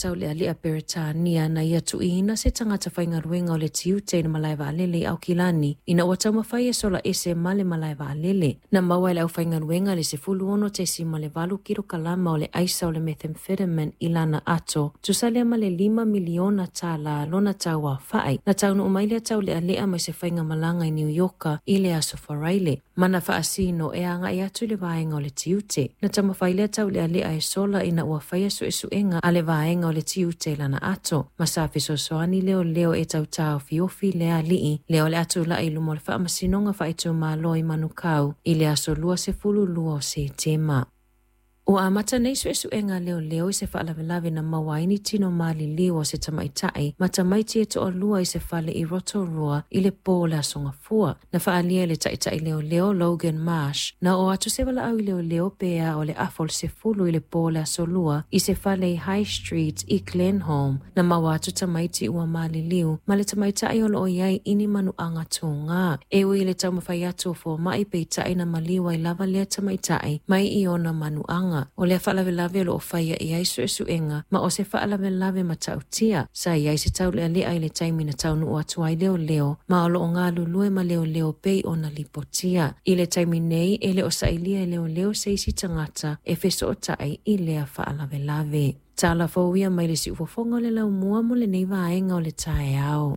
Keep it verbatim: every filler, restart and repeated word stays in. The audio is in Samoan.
taulealea Peretania na ia tuuina se tagata faigaluega o le tiute i le malae vaalele i Aukilani ina ua taumafai e sola ese ma le malae vaalele. Na maua e le aufaigaluega le sefulu ono tesima le valu kilokalama o le aisa o le methamphetamine i lana ato, tusa lea ma le lima miliona tālā lona tauafa'i. Na taunuu mai lea taulealea mai se faigamalaga i New Yorka i le aso Faraile. Mana faasino e agai atu i le vaega o le tiute. Na taumafai lea taulealea e sola ina ua faia suesuega a le vaega o le tiute i lana ato. Ma sa fesoasoani leoleo e tautaofiofi le alii lea o le a tulai i luma o le faamasinoga faaitumalo i Manukau i le aso luasefulu lua o Setema. Ua amata nei suesuega leoleo i se faalavelave na maua ai ni tino maliliu o se tamaitai ma tamaiti e toalua i se fale i Rotorua i le pō o le aso Gafua. Na faaalia e le taitai leoleo Logan Marsh na oo atu se valaau i leoleo pe a o le afa o le sefulu i le pō o le aso Lua i se fale i High Street i Glenholme. Na maua atu tamaiti ua maliliu ma le tamaitai o loo i ai i ni manuaga tugā. E ui i le taumafai atu o fomaʻi peitai na maliu ai lava lea tamaitai mai i ona manuaga. O lea faalavelave o loo faia i ai suesuega ma o se faalavelave matautia. Sa i ai se taulealea i le taimi na taunuu atu ai leoleo ma o loo galulue ma leoleo pei ona lipotia. I le taimi nei e le o sailia e leoleo se isi tagata e fesootai i lea faalavelave. Tala fou ia mai le siufofoga o le laumua mo lenei vaega o le taeao.